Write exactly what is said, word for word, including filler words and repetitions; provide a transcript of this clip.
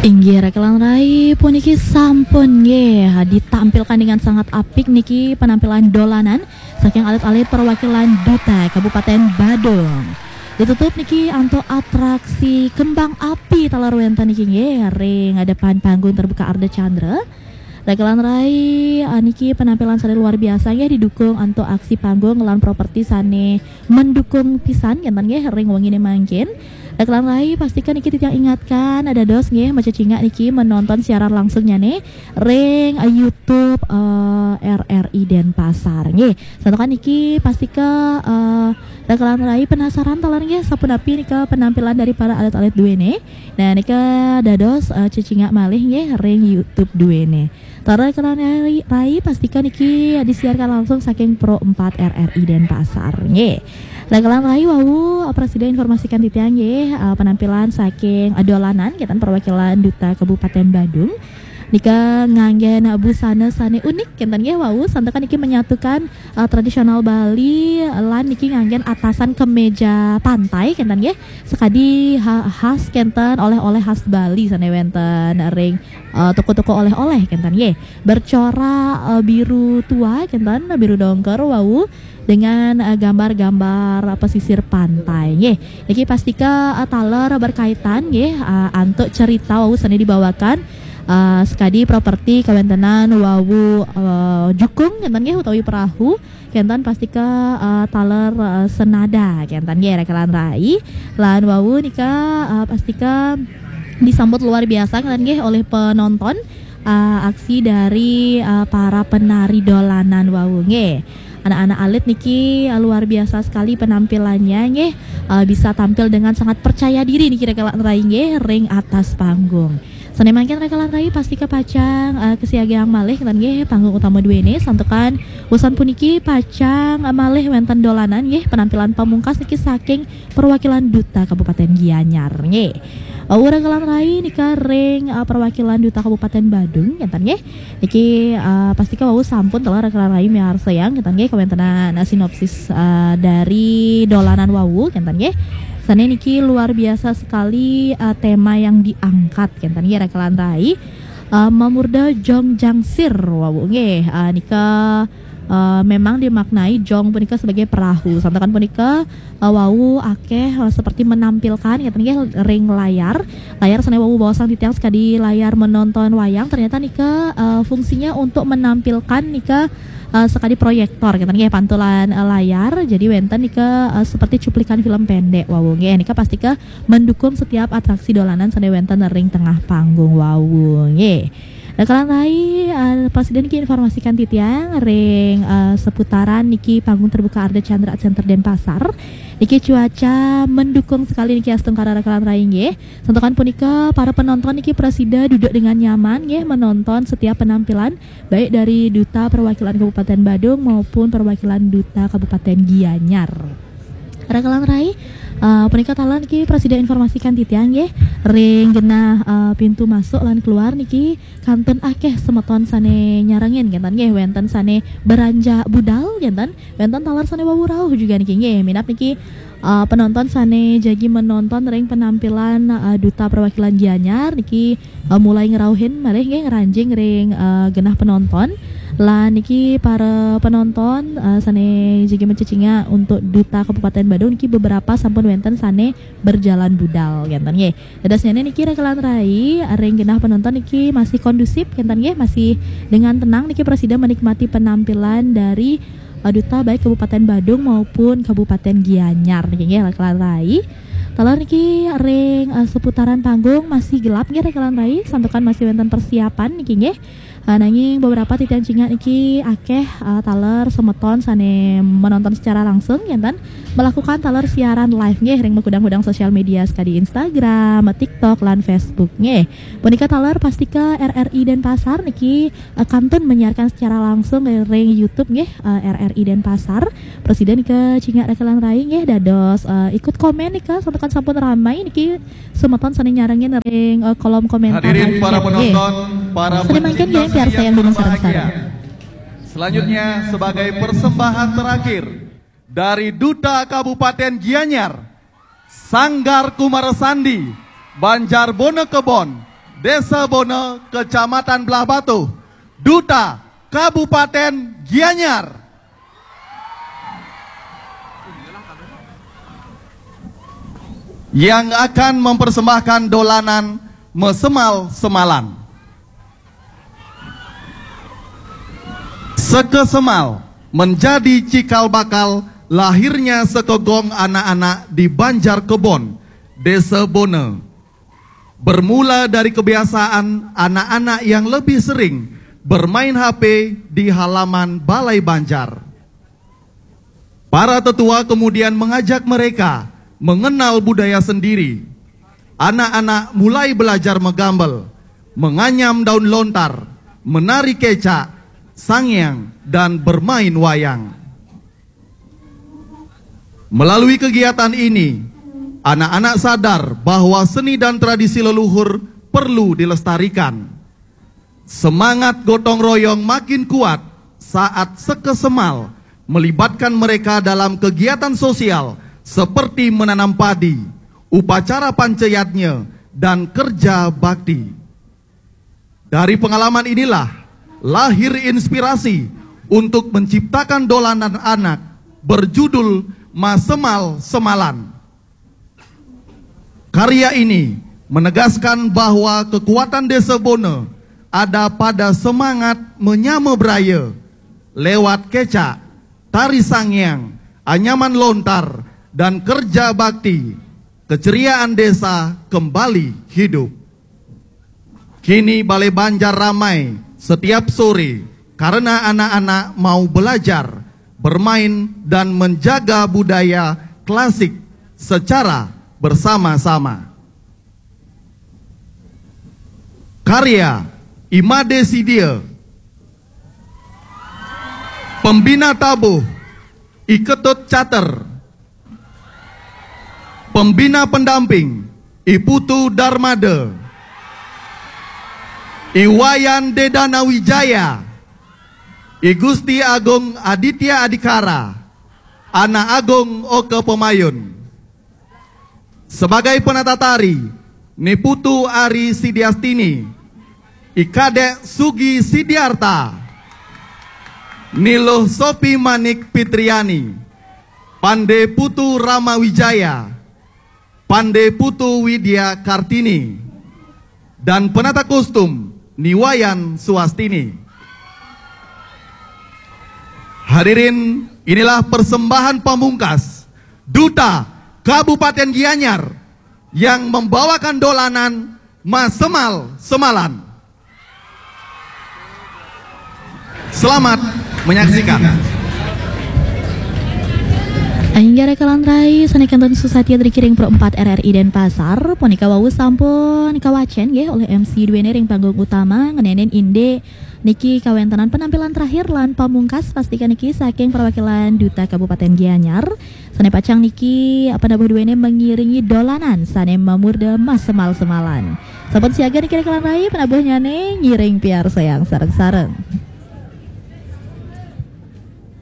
Inggih, Rekelan Rai, puniki sampun nggih ditampilkan dengan sangat apik niki penampilan dolanan saking alit-alit perwakilan Duta Kabupaten Badung. Ditutup niki antuk atraksi kembang api taler wenten niki nggih ring depan panggung terbuka Ardha Candra. Rekelan Rai, ah, niki penampilan sane luar biasa nggih didukung antuk aksi panggung lan properti sane mendukung pisan kenten nggih ring wengine mangkin. Rekelan Rai, pastika niki titiang ingatkan dados nggih macecingak niki menonton siaran langsungnyane ring eh, YouTube eh, R R I Denpasar nggih. Santukan niki pastika eh, Rekelan Rai penasaran taler nggih sapunapi nika penampilan dari para alit-alit duene. Nah, nika dados eh, cecingak malih nggih ring YouTube duene. Taler Rekelan Rai, Rai pastika niki disiarkan langsung saking Pro empat R R I Denpasar nggih. Rekelan Rai, wau eh, prasida informasikan titiang nggih eh, penampilan saking eh, dolanan kenten perwakilan Duta Kabupaten Badung. Nika nganggen busana sane unik kenten nggih wau, santukan niki menyatukan eh, tradisional Bali lan niki nganggen atasan kemeja pantai kenten nggih. Sekadi ha- khas kenten oleh-oleh khas Bali sane wenten ring eh, toko-toko oleh-oleh kenten nggih. Bercorak eh, biru tua kenten, biru dongker wau dengan eh, gambar-gambar eh, pesisir pantai nggih. Niki pastika eh, taler berkaitan nggih eh, antuk cerita wau sane dibawakan eh, sekadi properti kawentenan wau eh, jukung kenten nggih utawi perahu kenten pastika eh, taler eh, senada kenten nggih Rekelan Rai. Lan wau nika eh, pastika disambut luar biasa kenten nggih oleh penonton eh, aksi dari eh, para penari dolanan wau nggih. Anak-anak alit niki eh, luar biasa sekali penampilannya nggih. Eh, bisa tampil dengan sangat percaya diri niki Rekelan Rai nggih ring atas panggung. Sane mangkin Rekelan Rai pastika pacang eh, kesiagang malih kenten nggih panggung utama duene santukan usan puniki pacang eh, malih wenten dolanan nggih penampilan pamungkas niki saking perwakilan Duta Kabupaten Gianyar nggih. Wau Rekelan Rai nika ring eh, perwakilan Duta Kabupaten Badung kenten nggih. Niki eh, pastika wau sampun taler Rekelan Rai miarsayang kenten nggih kawentenan eh, sinopsis eh, dari dolanan wau kenten nggih. Sane niki luar biasa sekali eh, tema yang diangkat kenten nggih Rekelan Rai. Eh, Mamurda Jong Jangsir wau nggih. Eh, nika eh, memang dimaknai jong punika sebagai perahu. Santukan punika eh, wau akeh eh, seperti menampilkan kenten nggih ring layar. Layar sane wau baosang titiang sekadi layar menonton wayang, ternyata nika eh, fungsinya untuk menampilkan nika eh, sekadi proyektor kenten nggih pantulan eh, layar. Jadi wenten nika eh, seperti cuplikan film pendek wau nggih. Nika pastika mendukung setiap atraksi dolanan sane wenten ring tengah panggung wau nggih. Rekelan Rai, eh, prasida niki informasikan titiang ring eh, seputaran niki panggung terbuka Ardha Candra Center Denpasar. Niki cuaca mendukung sekali niki astungkara Rekelan Rai nggih. Santukan punika para penonton niki prasida duduk dengan nyaman nggih menonton setiap penampilan baik dari Duta Perwakilan Kabupaten Badung maupun perwakilan Duta Kabupaten Gianyar. Rekelan Rai, eh, punika taler niki prasida informasikan titiang nggih ring genah eh, pintu masuk lan keluar niki kantun akeh semeton sane nyarengin kenten nggih wenten sane beranjak budal kenten wenten taler sane wau rauh juga niki nggih minab niki eh, penonton sane jagi menonton ring penampilan eh, Duta Perwakilan Gianyar niki eh, mulai ngerauhin malih nggih ngranjing ring eh, genah penonton. Lan niki para penonton eh, sane jagi mencecingak untuk Duta Kabupaten Badung niki beberapa sampun wenten sane berjalan budal kenten nggih. Dadosnyane niki Rekelan Rai ring genah penonton niki masih kondusif kenten nggih, masih dengan tenang niki prasida menikmati penampilan dari eh, Duta baik Kabupaten Badung maupun Kabupaten Gianyar niki nggih Rekelan Rai. Taler niki ring eh, seputaran panggung masih gelap nggih Rekelan Rai, santukan masih wenten persiapan niki nggih. Eh, nanging beberapa titiang cingak niki akeh eh, taler semeton sane menonton secara langsung kenten melakukan taler siaran live nggih ring makudang-kudang sosial media sekadi Instagram, TikTok lan Facebook nggih. Punika taler pastika R R I Denpasar niki eh, kantun menyiarkan secara langsung ring YouTube nggih eh, R R I Denpasar. Prasida nika cingak Rekelan Rai nggih dados eh, ikut komen nika santukan sampun ramai niki semeton sane nyarengin ring eh, kolom komentar. Hadirin para penonton, para sane mangkin nggih piarsayang sareng-sareng. Selanjutnya sebagai persembahan terakhir dari Duta Kabupaten Gianyar, Sanggar Kumara Sandi, Banjar Bonekebon, Desa Bona, Kecamatan Blahbatuh, Duta Kabupaten Gianyar, yang akan mempersembahkan dolanan Mesemal Semalan. Sekesemal menjadi cikal bakal lahirnya sekegong anak-anak di Banjar Kebon, Desa Bona. Bermula dari kebiasaan anak-anak yang lebih sering bermain H P di halaman balai banjar. Para tetua kemudian mengajak mereka mengenal budaya sendiri. Anak-anak mulai belajar menggambel, menganyam daun lontar, menari kecak, sangiang, dan bermain wayang. Melalui kegiatan ini, anak-anak sadar bahwa seni dan tradisi leluhur perlu dilestarikan. Semangat gotong royong makin kuat saat Sekesemal melibatkan mereka dalam kegiatan sosial seperti menanam padi, upacara panceyatnya, dan kerja bakti. Dari pengalaman inilah lahir inspirasi untuk menciptakan dolanan anak berjudul Masemal Semalan. Karya ini menegaskan bahwa kekuatan Desa Bona ada pada semangat menyama beraya lewat kecak, tari sangiang, anyaman lontar, dan kerja bakti. Keceriaan desa kembali hidup. Kini Balai Banjar ramai setiap sore karena anak-anak mau belajar, bermain, dan menjaga budaya klasik secara bersama-sama. Karya Imade Sidia, pembina tabuh I Ketut Cater, pembina pendamping I Putu Darmada, I Wayan Dedana Wijaya, I Gusti Agung Aditya Adikara, Anak Agung Oke Pemayun. Sebagai penata tari, Ni Putu Ari Sidiastini, I Kadek Sugi Sidiarta, Ni Luh Sopi Manik Pitriani, Pande Putu Rama Wijaya, Pande Putu Widya Kartini, dan penata kostum Ni Wayan Suastini. Hadirin, inilah persembahan pamungkas Duta Kabupaten Gianyar yang membawakan dolanan Masemal Semalan. Selamat menyaksikan. Inggih raka lan rai sané kantun susatia dari Kiring Pro empat R R I Denpasar, punika wau sampun kawacén nggih oleh M C duéné ring panggung utama, ngenénin indik niki kawéntenan penampilan terakhir lan pamungkas pastika niki saking perwakilan Duta Kabupaten Gianyar, sané pacang niki panabuh duéné mengiringi dolanan sané mamurda Masemal Semalan. Sampun siaga niki raka lan rai, panabuhnyané ngiring piarsayang sareng-sareng.